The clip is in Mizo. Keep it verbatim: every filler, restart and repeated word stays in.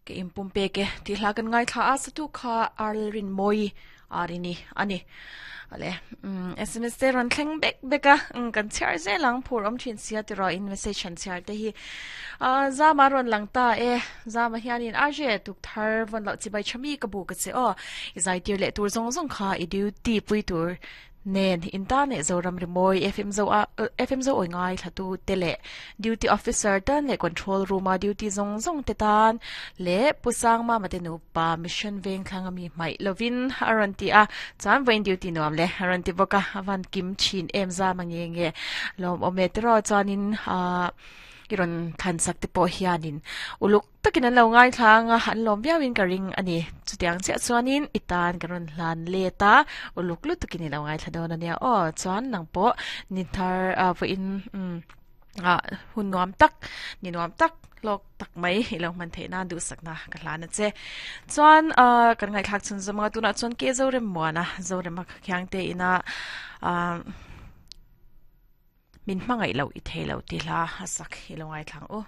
Ke in pum pe ke ti hla kan ngai thla a satu kha Arlrin Moi arini ani. Ale um S M S te ron thleng bek beka um kan chhiar zelang phur om thin sia ti ro in message han chhiar te hi. A zama ron langta e zama hianin arje tuk thar von lo chi bai chami ka bu ka che o izai tir le tur zong zong kha i duty pui tur nen internet Zoram Rimoi F M zo a F M zo oi ngai thatu tele duty officer tan le control room a duty zong zong te tan le pusang ma mate nu pa mission veng thlanga mi mai lovin aranti a chan vein duty nuam le aranti boka avan kim chin em za mange nge lom ometro chuanin a iron than sak te pawh hianin uluk takin an lo ngai thlanga an lawm viauin ka ring ani. Chutiang chiah chuanin itan ka rawn hlan let a uluk lu takin i lo ngai thla dawn ania aw. Chuan nang pawh ni thar a vawiin um a hun nuam tak ni nuam tak lawk tak mai i lo hman theih nan duhsakna ka hlan a che. Chuan a kan ngai thlak chhun zawm anga tunah chuan ke Zorem muana Zorema khiang te ina a min hmangaih lo i thei lo ti hla a sak i lo ngai thlang u.